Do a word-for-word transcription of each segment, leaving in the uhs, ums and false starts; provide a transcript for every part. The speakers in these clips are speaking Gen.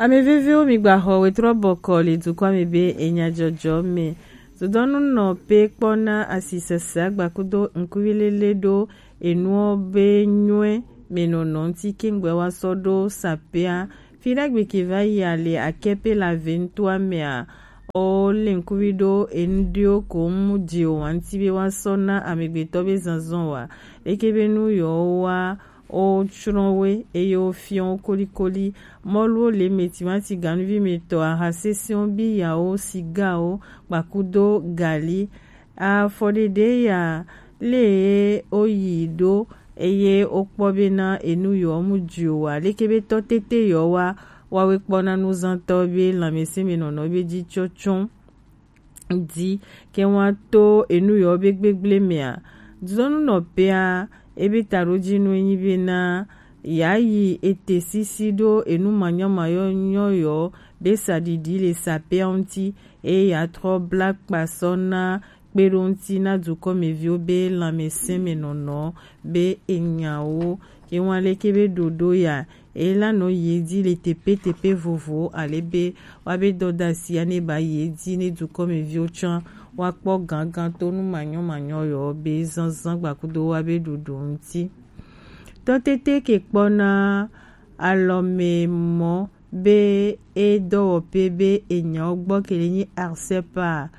Ame veviwo, mi gba xɔ wetrɔ bɔkɔ le dukɔ me be enya jɔjɔ me. Dodɔnu nɔ pe kpɔ na asisese agbakudo ŋkuvi lele ɖo enuwo be nyɔe me nɔnɔ ŋuti kengbe wa sɔ ɖo sapea. Fi ɖagbe ke va yi ale akɛ pe la ve ŋutua mea, o le ŋkuvi ɖo enu ɖewo ko mu di o wa ŋuti be wa sɔ na amegbetɔ be zanzan wa. Leke be nu yɔ wa o tsrɔ̃ we eye o fiɔ wo kolikoli. Mɔluwo le me timati ganuvi me tɔ, aha sesẽwo, biyawo, sigawo, kpakudo gali. Afɔɖeɖe ya le o yi ɖo eye o kpɔ be na enu yɔ mu dzi o wa. Leke be tɔ tete yɔ wa wa we kpɔ na nuzantɔ be lãmesẽ me nɔnɔ be dzi tsɔtsɔ di ke wa to enu yɔ be gbegble mea. Dudɔnu nɔ pea ebe taɖodinu enyi be na ya yi ete sisi ɖo enu manyɔmanyɔ yɔ be saɖiɖi le sapea ŋuti eye ya trɔ bla kpasɔ na kpe ɖo ŋuti na dukɔmeviwo be lãmesẽ me nɔnɔ be enyawo ke wa leke be ɖoɖo ya ela nɔ ye di le tepe tepe vovo ale be wa be dɔdasi ane ba ye di ne dukɔmeviwo tsã wa kpɔ gangan to nu manyɔmanyɔ yɔ be zanzan gbakudo wa be ɖuɖu ŋuti. Tɔtete ke kpɔ na alɔmemɔ be e dɔwɔƒe be enyawo gbɔ ke le nyi arsepa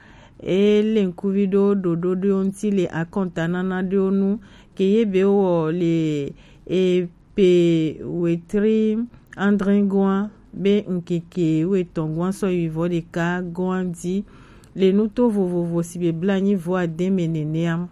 e le ŋkuvi ɖo ɖoɖo ɖewo ŋuti le akɔntanana ɖewo nu ke ye be wɔ le e pe wetri andre goa be ŋkeke wetɔn goa sɔ yi vɔ ɖeka goa di le nuto vovovo si be bla nyi vɔ ade me nenea.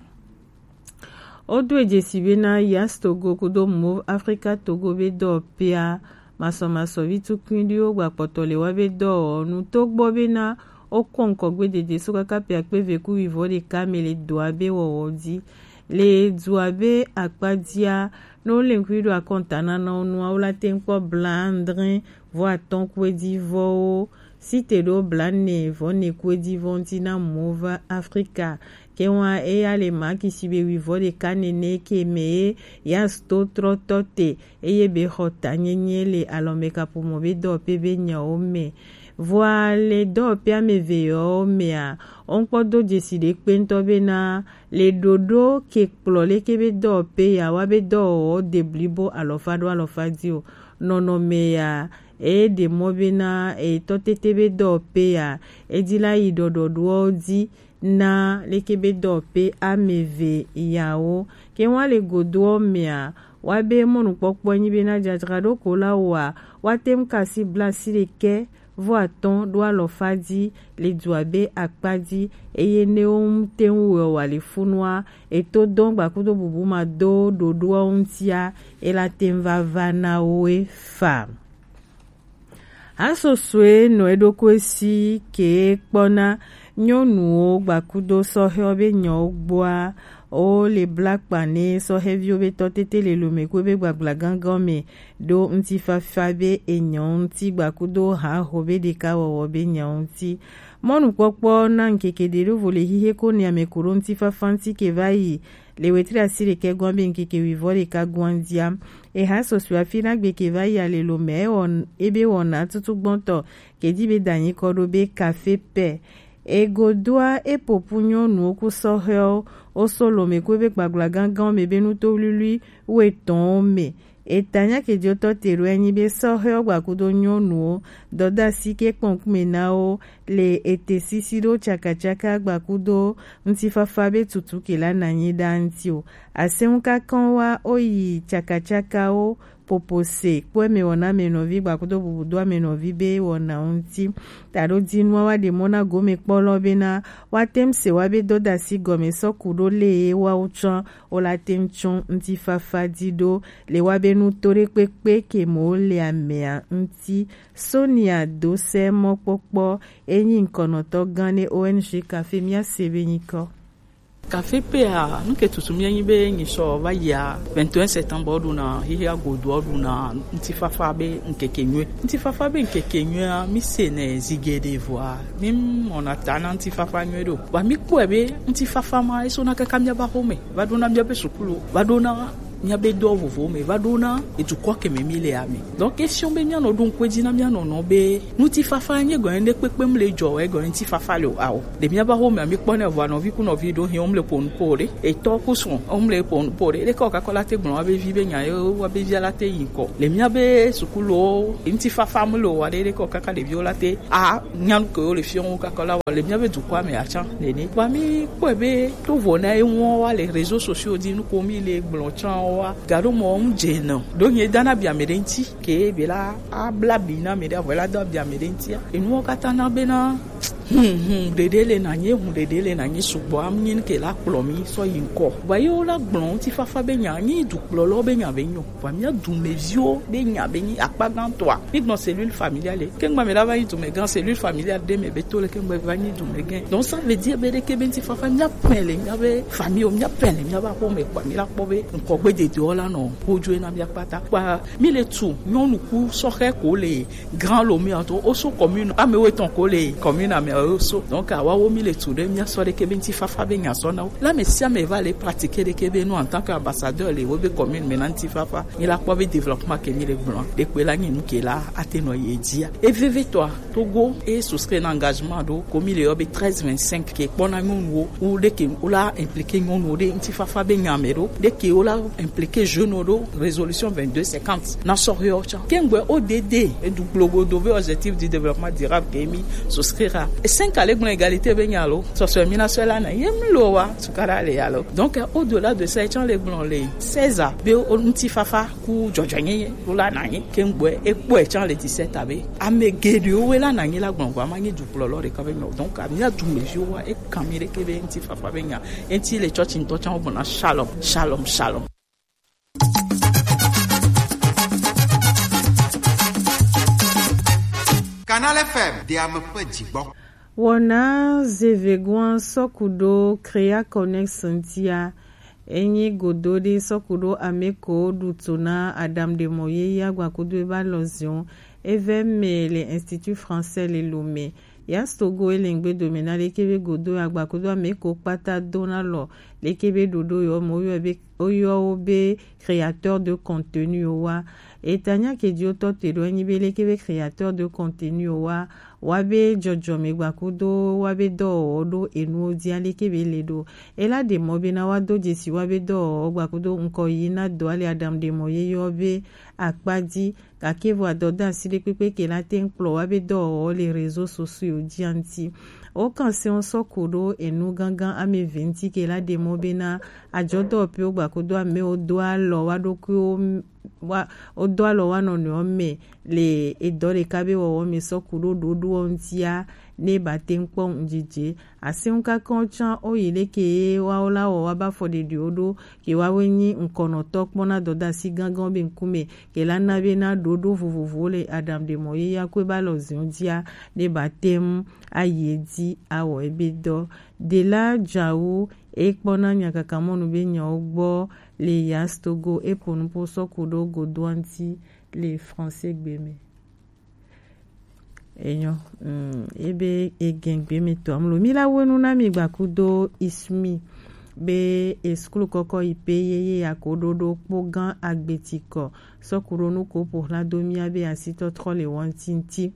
Wodo edzesi be na Yas Togo kudo Move Africa Togo be dɔwɔƒea masɔmasɔvi tukui ɖiwo gbakpɔtɔ le wa be dɔwɔnu to gbɔ be na wokɔ ŋkɔgbe dede so kaka pe akpe ve ku wivɔ ɖeka me le dua be wɔwɔ di. Le dua be akpa dia, ne wole ŋkui ɖo akɔntananawo nua, wola te ŋkpɔ bla andre vɔ atɔ̃ kuedivɔwo site ɖo bla ne vɔ ne kuedivɔ ŋuti na Move Africa. Ke wa eya le makisi be wivɔ ɖeka nene ke me ye ya sto trɔtɔ te eye be xɔ ta nyenye le alɔme kaƒomɔ be dɔwɔƒe be nyawo me. Vɔa le dɔwɔƒe ame eve yawo mea, woŋkpɔ do dzesi ɖe kpe ŋutɔ be na le ɖoɖo ke kplɔ leke be dɔwɔƒe ya wa be dɔwɔwɔ de blibo alɔfa ɖo alɔfa di o. Nɔnɔme ya e ɖe mɔ be na etɔ tete be dɔwɔƒe ya edi la yi ɖɔɖɔɖoawo di na leke be dɔwɔƒe ame eve yawo. Ke wa le godoɔ mea, wa be mɔnukpɔkpɔ nyi be na dzadzraɖo ko la wa wa te ŋu kasi bla si ɖekɛ vɔ atɔ̃ ɖo alɔfa di le dua be akpa di eye ne wo ŋu te ŋu wɔ wa le funua eto dɔn gbakudo bubu ma do ɖoɖoawo ŋutia ela te ŋu va va na woe fa. Hasosoe nɔ eɖokui si ke kpɔna nyɔnuwo gbakudo sɔhɛwo be nyawo gbɔa, wo le bla kpa ne sɔhɛviwo be tɔtete le lome kue be gbagblagãgã me ɖo ŋutifafa be enyɔ ŋuti gbakudo haho be ɖekawɔwɔ be nyawo ŋuti. Mɔnukpɔkpɔ na ŋkeke ɖe ɖo vo le hihe ko ne ame ko ɖo ŋutifafa ŋuti ke va yi le wetri asi ɖekɛ gɔn be ŋkeke wivɔ ɖeka gɔn dia. Eha sɔsɔe afi na gbe ke va yi ale lo mɛ ewɔ ebe wɔna tutu gbɔntɔ ke di be danyi kɔ ɖo be kafe pɛ. Egodoa epopu nyɔnuwo ku sɔhɛwo wo so lome ku ebe gbagblagãgãwo me be nuto wluiwlui wetɔnwo me. Etanya ke jotɔ te ɖo enyi be sɔhɛwo gbakudo nyɔnuwo dɔdasi ke kpɔnkume na wo le ete sisi ɖo cakacaka gbakudo ŋutifafa be tutu ke la nanyi ɖa ŋuti o. Asɛŋu kakɔn wa oyi cakacakawo popose kpɔ eme wɔna ame nɔvi gbakudo bubudo ame nɔvi be wɔna ŋuti. Taɖo di nua wa ɖe mɔ na gome kpɔlɔ be na wa tem se wa be dɔdasi gɔme sɔ ku ɖo le ye wa wo tsɔ wo la te ŋu tsɔ ŋutifafa di ɖo le wa be nuto ɖe kpekpe ke mo le amea ŋuti. Sonia Dosɛ mɔkpɔkpɔ enyi ŋkɔnɔtɔ gã ne O N G Café mía se be nyikɔ. Café pea, nu ke tutu mía nyi be nyi sɔ va yia vingt et un septembre ɖuna hihi agodo ɖuna ŋutifafa be ŋkeke nyuie. Ŋutifafa be ŋkeke nyuie mi se ne zige ɖe vɔa mi mɔna ta na ŋutifafa nyuie ɖo. Wa mi kpɔe be ŋutifafa ma eso na kaka mía ba xome va ɖona mía be sukulu va ɖona Míabe dɔ vovovowo me va ɖo na edukɔ ke me mí le ame. Donc question be míanɔ ɖo ŋkue dzi na míanɔnɔ be ŋutifafa nye gɔnye ɖe kpekpe mu le dzɔ wɛ gɔnye ŋutifafa le o ao. Ɖe míava xo mea míkpɔ ne vɔ nɔvi ku nɔvi ɖo hiɛ wom le ƒo nu po ɖe. Etɔ ku srɔ̃ wom le ƒo nu po ɖe. Ɖe kɔ kakɔ la te gblɔ wa be vi be nya ye wa be via la te yi ŋkɔ. Le míabe sukulo ŋutifafa mu le o wa ɖe ɖe kɔ kaka ɖeviwo la te a nya nu ke wo le fiɔ wo kakɔ la wa le míabe dukɔa me atsã nene. Wa mi kpɔe be to vo na eŋuɔ wa le réseaux sociaux dzi nu ko mi le gblɔ tsã wa. Gaɖo mɔ ŋu dze nɔ. Ɖo nye dana bia me ɖe ŋuti ke be la abla bi na me ɖe avɔ la do bia me ɖe ŋutia. Enuwo katã na bena Hmm, hmm, ɖeɖe le nanye, hmm, ɖeɖe le nanye sugbɔ, am nyin ke la kplɔ mi sɔ yi ŋkɔ. Vɔ ye wo la gblɔ ŋutifafa be nya, nyi dukplɔlɔ be nya be nyo. Vɔ mía dumeviwo be nya be nyi akpa gãtɔa. Mi gblɔ cellule familiale. Ke ŋgba mi la va nyi dumegã, cellule familiale ɖe me be to le ke ŋgba va nyi dumegã. Donc ça veut dire be ɖeke be ŋutifafa mía pɛ le mía be famille, mía pɛ le mía be aƒe me kpɔ, mi la kpɔ be ŋkɔgbe dedewo la nɔ ƒodzroe na mía kpata. Kpa mi le tu nyɔnu ku sɔhɛ ko le Grand Lomé ɔtɔ oso commune ame wo etɔn ko le commune ame oso. Donc awa wo mi le tu ɖe mía sɔ ɖeke be ŋutifafa be nya sɔ na wo. La me sia me va le pratiquer ɖeke be nu en tant que ambassadeur le wo be commune me na ŋutifafa. Mi la kpɔ be développement ke mi le gblɔ. Ɖekpe la nyi nu ke la ate nɔ ye dzia. E veve tɔa Togo e souscrire na engagement ɖo ko mi le yɔ be treize vingt-cinq ke kpɔ na nyɔnuwo. Wo ɖeke wo la impliquer nyɔnuwo ɖe ŋutifafa be nya me ɖo. Ɖeke wo la impliquer jeune ɖo résolution vingt-deux cinquante. Na sɔhɛ ɔ tsã. Kengbe o D D, e du gblogo do ve objectif du développement durable ke mi souscrire a. E cinq ale gblɔ égalité be nya lo. Sɔsɔe mi na sɔe la na ye mlo wa. Sukara le ya lo. Donc, au-delà de ça, e tsã le gblɔ le seize a. Be o ŋutifafa ku dzɔdzɔenyenye. Wo la na ye. Kengbe e kpɔe tsã le dix-sept a be. Ame geɖewo we la na ye la gblɔ vɔ, ama nye dukplɔlɔ ɖeka be nyɔ. Donc, ami la dumeviwo wa, e kan mi ɖeke be ŋutifafa be nya. Enti le tsɔtsi ŋutɔ tsã wo gbɔna shalom, shalom, shalom. Canal F M, de ame ƒe dzigbɔ. Wɔna zevegoa sɔku ɖo Crea Connect ŋutia, enyi godo ɖe sɔku ɖo ame ko ɖu to na Adam ɖe mɔ ye ya gbakudo eba lɔ zion, eve me le Institut Français le Lomé. Yas Togo e le ŋgbe dome na leke be godo agbakudo ame ko kpata do na lɔ leke be ɖoɖo yɔ mo yɔ be woyɔ wo be créateur de contenu wa. Etanya ke dzi wotɔ te ɖo enyi be leke be créateur de contenu wa, wa be dzɔdzɔme gbakudo wa be dɔwɔwɔ ɖo enuwo dzi aleke be le ɖo. Ela ɖe mɔ be na wa do dzesi wa be dɔwɔwɔ gbakudo ŋkɔ yi na dɔ ale Adam ɖe mɔ ye yɔ be akpa dzi. Gake vɔ adɔdasi ɖekpekpe ke la te ŋu kplɔ wa be dɔwɔwɔ le réseaux sociaux dzi ŋuti. Wokan se wo sɔ ko ɖo enu gangan ame eve ŋuti ke la ɖe mɔ be na adzɔdɔwɔƒewo gbakudo amewo do alɔ wa ɖokuiwo m-, wa, wodo alɔ wa nɔnɔewo me le edɔ ɖeka be wɔwɔ me sɔ ku ɖo ɖoɖoɔ ŋutia ne ba te ŋu kpɔ ŋudzedze. Aseŋukakanwo tsã woyi leke ye woawo la wɔ woabe afɔɖeɖiwo ɖo ke woawoe nyi ŋkɔnɔtɔ kpɔna dɔdasi ganganwo be ŋkume ke la na be na ɖoɖo vovovowo le Adam ɖe mɔ ye ya koe ba lɔ ziɔ dzia ne ba te ŋu ayi edzi awɔ ebe dɔ. Ɖela dzawu ekpɔna nyakakamɔnu be nyawo gbɔ le Yas Togo eƒo nuƒo sɔ ku ɖo godoa ŋuti le français gbe me. Enyo, mm, ebe egengbe mi to amlo. Mi la wenu na mi gbakudo ismi be eskulu kɔkɔ ipe yeye ya ko ɖoɖo kpo gan agbetikɔ sɔkuɖo nu ko ƒo hla do mia be asitɔtrɔ le wɔntinti.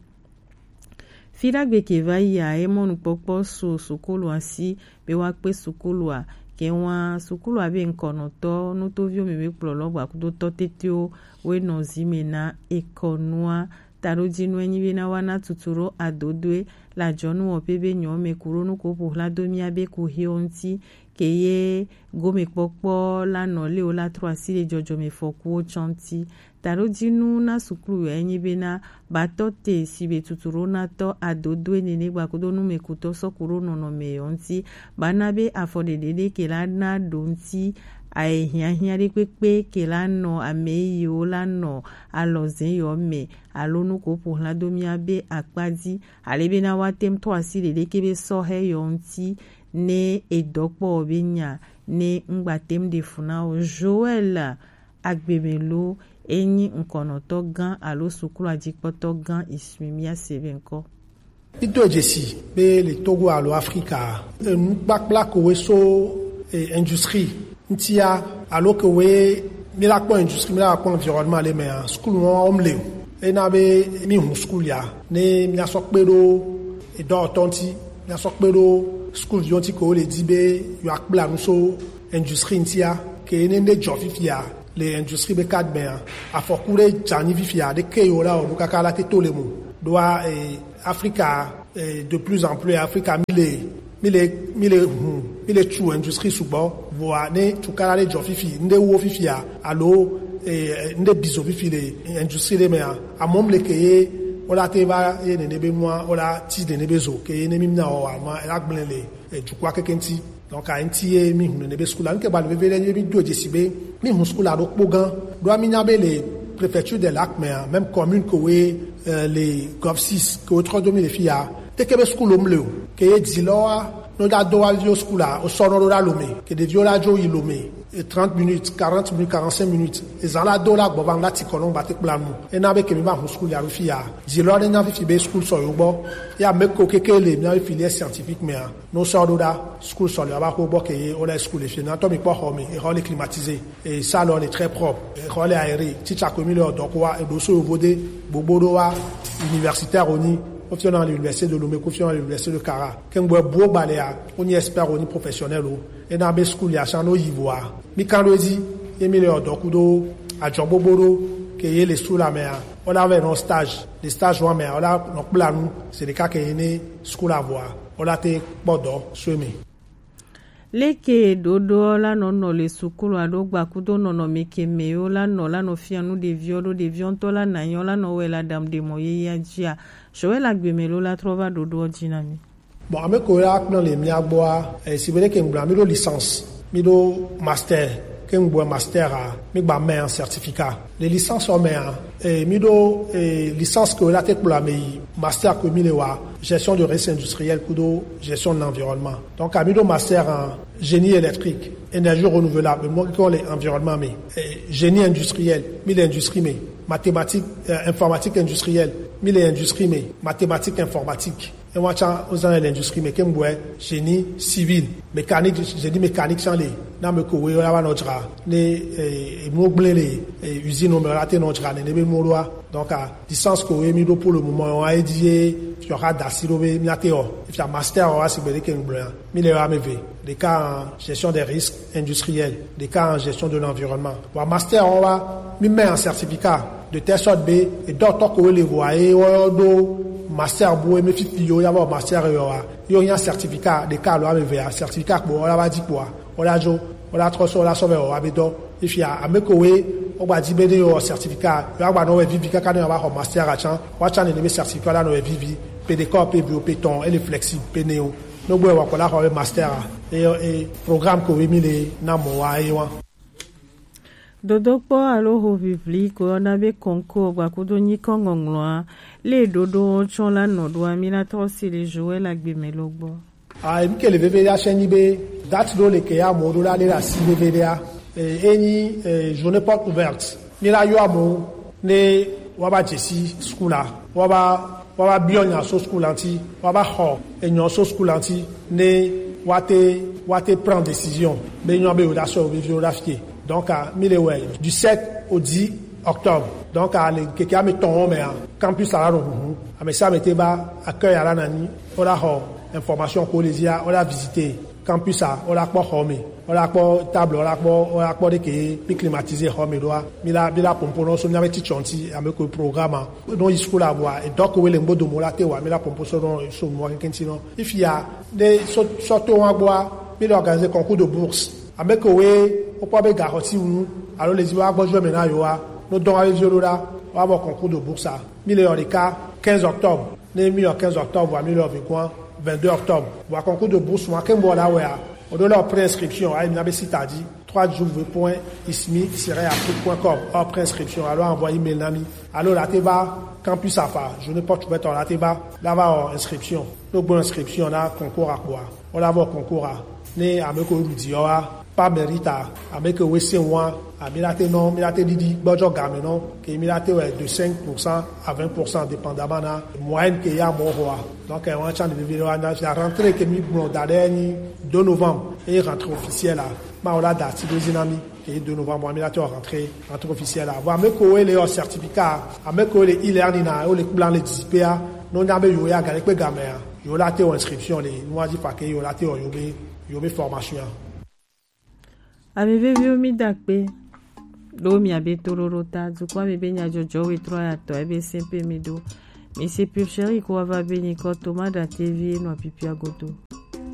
Fi ɖagbe ke va yi a, emɔ nukpɔkpɔ so sukulu asi be woakpe sukulua. Ke wa sukulua be ŋkɔnɔtɔ nutoviwo me be kplɔlɔ gbakudo tɔ tetewo woe nɔ zi me na ekɔnua. Taɖodzinue nyi be na woana tutu ɖo adodoe le ajɔnuwɔƒe be nyɔme ku ɖo nu ko ƒo hla do mia be kuxiwo ŋuti, ke ye gomekpɔkpɔ la nɔ leo la trɔ asi ɖe dzɔdzɔmefɔkuwo tsɔ ŋuti. Taɖodzinu na sukluwoe nyi be na ba tɔ te si be tutu ɖo na tɔ adodoe nene gbakudo numekutɔ sɔ ku ɖo nɔnɔme yewo ŋuti. Ba na be afɔɖeɖe ɖe ke la na ɖo ŋuti aye hiahiã ɖe kpekpe ke la nɔ ame yiwo la nɔ alɔze yewo me alo nu ko ƒo hla do mia be akpa dzi, ale be na woate ŋu tɔ asi ɖeɖeke be sɔhɛ yewo ŋuti ne edɔ kpɔ be nya ne ŋgba te ŋu ɖe fu na wo. Joel Agbemelo enyi ŋkɔnɔtɔ gã alo suklua dzikpɔtɔ gã Ismi mia se be ŋkɔ. Ido dzesi be le Togo alo Afrika, enukpakpla kowe so, e, industrie ŋutia alo kowe Mi la kpɔ industrie, mi la kpɔ environnement le mɛ a, school wɔn wɔn le o. Ena be mi hun school ya, ne mi asɔ kpe ɖo edɔ tɔn ti, mi asɔ kpe ɖo school viwo ti ke wo le di be yo akpla nu so industrie ŋuti a, ke ne ne jɔ fifia le industrie be cadre mɛ a, afɔku ɖe dza nyi fifia ɖe ke yo la o ɖo kaka la te to le mo ɖo a, eh, Afrika, eh, de plus en plus Afrika mi le mi le mi le hun mi le tu industrie sugbɔ. Vɔa ne tu kala ɖe jɔ fifi, ŋɖe wo fifia alo, eh, ŋɖe bizo fifi le industrie ɖe mɛ a, amɔ mi le ke ye wo la te va ye nene be nua wo la ti nene be zo ke ye ne mi na wɔ wa ma la gblẽ le, eh, dukɔa keke ŋuti. Donc a ŋuti ye mi hun nene be school la. Ŋke ba le veve ɖe ye mi do dzesi be mi hun school la ɖo kpo gan. Ɖo mi nya be le préfecture de lac mɛ a, même commune ke wo ye, eh, le Golf six ke wo trɔ do mi le fi ya. Te ke be school wo mi le o. Ke ye di lɔ wa no da do wa vi o school la, o sɔ no ɖo ɖa Lomé. Ke ɖeviwo la dzo yi Lomé, eh, trente minutes, quarante minutes, quarante-cinq minutes. Ezan la do la gbɔ va ŋu la ti kɔ nɔ gba te kpla nu. Ena be ke mi va hun school ya ɖo fi ya. Di lɔ ne nya fifi be school sɔ yo gbɔ. Ya mɛ ko keke le mi na be filière scientifique mɛ a. No sɔ ɖo ɖa school sɔ le ava ko gbɔ ke ye o la school le fi na tɔ mi kpɔ xɔ mi, e xɔ le climatisé, e salle le très propre, e xɔ le aéré. Teacher ko mi le ɔdɔ ko wa e ɖo so yovo de gbogbo ɖo wa universitaire o nyi. Ko fiɔ na l'université de Lomé, ko fiɔ na l'université de Kara. Ke ŋgbɔ bu o gba le ya, o nyi expert o nyi professionnel o. Ena be school ya shan no yi vɔa. Mi kan ɖo edzi, ye mi le ɔdɔ kudo adzɔ gbogbo ɖo ke ye le school la mɛ a. O la vɛ nɔ stage, le stage wa mɛ a, o la nɔ kpla nu, se ɖeka ke ye ne school la vɔa, o la te kpɔ dɔ so eme. Leke ɖoɖoɔ la nɔ nɔ le sukulu alo gbakudo nɔnɔme ke mɛ yo la nɔ la nɔ fia nu ɖeviɔ ɖo ɖeviɔ ŋutɔ la na nyɔ la nɔ wɛ la ɖam ɖe mɔ yeyea jia. Sɔwɛ la gbeme lo la trɔ va ɖoɖoɔ ji na mi. Bon, ame ko ya kplɔ le mia gbɔa, eh, si bele ke ŋgblɔ, mi ɖo licence, mi ɖo master, ke ŋgblɔ master a, mi gba mɛ certificat. Le licence o mɛ a, eh, mi ɖo, eh, licence ko la te kplɔ ame yi master ko mi le wa, gestion de risque industriel kudo gestion de l'environnement. Donc, a mi ɖo master en génie électrique, énergie renouvelable, mo ko le environnement mɛ, eh, génie industriel, mi le industrie mɛ, mathématique, euh, informatique industrielle, mi le industrie mɛ, mathématique informatique. E wa tsa o zan le industrie mɛ ke ŋgbɔɛ génie civil, mécanique, génie mécanique tsa le. Na me ko we la wa nɔ dzra ne, eh, emu gblẽ le, eh, usine mɛ la te nɔ dzra ne ne be mu ɖoa. Donc, ah, licence ko we mi ɖo pour le moment wa e di ye fiɔ xa dasi ɖo be mi ate o. Fia master wa si gbe de ke ŋgblɔ ya. Mi le wa me ve. Ɖeka en gestion des risques industriels, ɖeka en gestion de l'environnement. Wa master wa mi mɛ en certificat de telle sorte be e dɔtɔ ko we le vɔa ye wo ɖo master bu e me fifi yo ya vɔ master yo wa. Yo nya certificat ɖeka lo ame ve a certificat kpo wo la va di kpoa. Wo la dzo, wo la trɔ so, wo la sɔ vɛ wo wa be dɔ. Efia ame ko we wo gba di be ne yo certificat, yo agba nɔ wɛ vivi kaka ne yo va xɔ master a tsan, wa tsan ne be certificat la nɔ wɛ vivi, pe ɖeka o pe vi o pe tɔn, ele flexible pe ne o. No gbɔ wa ko la xɔ be master a, e, e, programme ko we mi le na mɔ wa e wa. Dodokpɔ alo ho vivli ko yɔna be concours gbakudo nyikɔ ŋɔŋlɔa, le ɖoɖo tsɔ la nɔ ɖoa mi la trɔ si le Joël Agbemelo gbɔ. Ah, mi ke le veve ya sɛ nyi be date ɖo le ke ya mɔ ɖo la le la si veve ɖea, eh, e nyi, eh, journée porte ouverte. Mi la yɔ amewo ne wa va dzesi school la, wa va, wa va biɔ nya so school la ŋuti, wa va xɔ enyɔ so school la ŋuti, ne wa te, wa te prend décision be nyɔ be wo da sɔ wo viviwo da fie. Donc, ah, mi le wɛ du sept au dix octobre. Donc, ah, le keke ame tɔn mɛ a, campus la nɔ huhu. Ame sia ame te va accueil la na nyi, wo la xɔ information ko le zia, wo la visiter campus a, wo la kpɔ xɔ me, wo la kpɔ table, wo la kpɔ, wo la kpɔ ɖe ke mi climatiser xɔ me ɖoa, mi la, mi la pompo nɔ so mi na be titsɔ ŋuti, ame ko programme a. No yi school la bua, e dɔ ko we le ŋgbo domo la te wa, mi la pompo so nɔ so nua keke ŋuti nɔ. Ifia, ne so, so to wa gbɔa, mi le organiser concours de bourse. Ame ko we, wo kpɔ be ga xɔ ti wu, alo le zi wa gbɔ jo me na yo wa, no dɔn wa be vi ɖo ɖa, wa bɔ concours de bourse a. Mi le yɔ ɖeka quinze octobre. Ne mi yɔ quinze octobre, wa mi le yɔ vingt-deux octobre. Wa concours de bourse, wa ke ŋgbo la wɛ a. O ɖo la o pré-inscription, ayi mi na be site a di, trois w point ismi tiret afrique point com, o pré-inscription, alo envoyer email na mi. Alo la te va campus a fa, journée porte ouverte la te va, la va o inscription. No gbɔ inscription na concours a kpoa. O la vɔ concours a. Ne ame ko ɖu di yɔ wa, par mérite a, ame ke we se wa, a mi la te nɔ, mi la te ɖiɖi gbɔdzɔ game nɔ, ke mi la te wɛ de cinq pour cent à vingt pour cent dépendamment na moyenne ke ya mɔ xɔa. Donc, eh, wa tsan de vivi wa na fia rentrée ke mi gblɔ da ɖe nyi deux novembre, e rentrée officielle a, ma o la da ti ɖo zi na mi. Et de novembre, on a mis la rentrée, rentrée officielle. Avant, avec quoi les certificats, avec quoi les e-learning, on les plans, les displays, non, on a mis, il y a gagné, quoi, gamin, il y a la inscription, les, nous, on a dit, pas que, il y a la, il y a formation. Ame veviwo, mi da akpe ɖo miabe toɖoɖo ta. Dukɔa me be nyadzɔdzɔ wetru atɔ ebe sɛn pe mi ɖo. Mi se pure chérie ko wava be nyikɔ Thomas Datevi enɔ pipia godo.